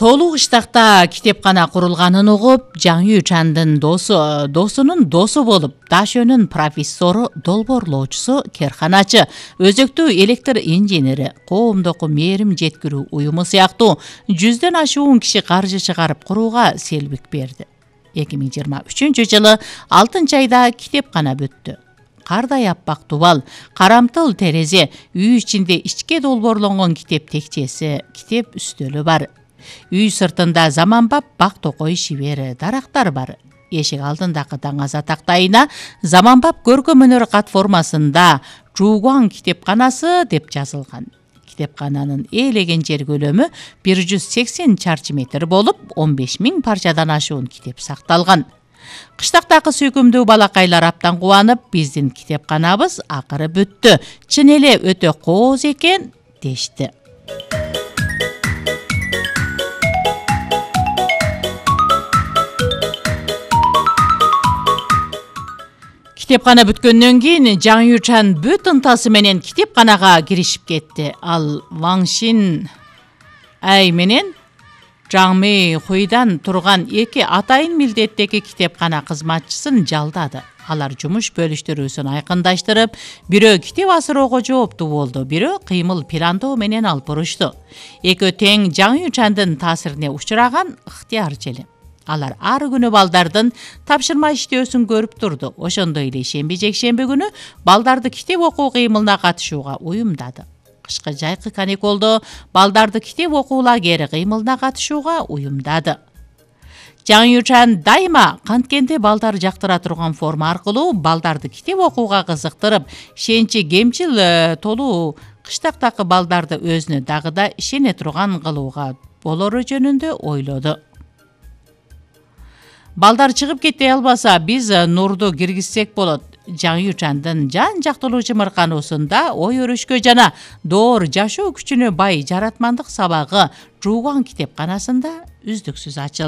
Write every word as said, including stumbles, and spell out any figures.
Толуу кыштакта китепкана курулганын угуп, Жаңы Чандын досу, досунун досу болуп, Дашөнүн профессору, долбоорлоочусу, керканачы, өзөктүү электр инженери, коомдоку мээрим жеткирүү уюму сыяктуу жүздөн ашуун киши каржы чыгарып курууга селбик берди. эки миң жыйырма үчүнчү жылы алтынчы айда китепкана бүттү. Кардай аппак дубал, карамтыл терезе, үй ичинде ичке долбоорлонгон китеп текчеси, китеп үстөлү бар. Үй сыртында заманбап бак токой шибер, дарактар бар. Эшик алдындагы даңаза тактайына заманбап көркөм өнөр кат формасында Жуугуан китепканасы деп жазылган. Китепкананын ээлеген жер көлөмү бир жүз сексен чарчы метр болуп, он беш миң парчадан ашуун китеп сакталган. Кыштактагы сүйкүмдүү балакайлар аптан кубанып, биздин китепканабыз акыры бүттү. Чын эле өтө кооз экен дешти. Китепкана бүткөндөн кийин Жаңы Чан бүт ынтасы менен китепканага киришип кетти. Ал Ван Шин Ай менен Жаңмы Хуйдан турган эки атайын милдеттеги китепкана кызматчысын жалдады. Алар жумуш бөлүштүрүүсүн айкындаштырып, бирөө китеп асыроого жооптуу болду, бирөө кыймыл пландоо менен алып бурушту. Экөө тең Жаңы Чандын таасирине учураган ыктыярчы. Алар ар күнү балдардын тапшырма иштөөсүн көрүп турду. Ошондой эле шемби жекшемби күнү балдарды китеп окуу кыймылына катышууга уюмдады. Кышкы жайкы каникулдо балдарды китеп окуу лагери кыймылына катышууга уюмдады. Жаңы Чан дайыма канткенде балдар жактыра турган форма аркылуу балдарды китеп окууга кызыктырып, шенчи кемчил толуу кыштактагы балдарды өзүнө дагы да ишене турган кылууга болору жөнүндө ойлоду. Балдар чыгып кете албаса, биз нурду киргизсек болот. Жаңы Чандын жан жактылуу чымыркануусунда ой өрүшкө жана доор жашоо күчүнө бай жаратмандык сабагы Жуугуан китепканасында үздүксүз ачылды.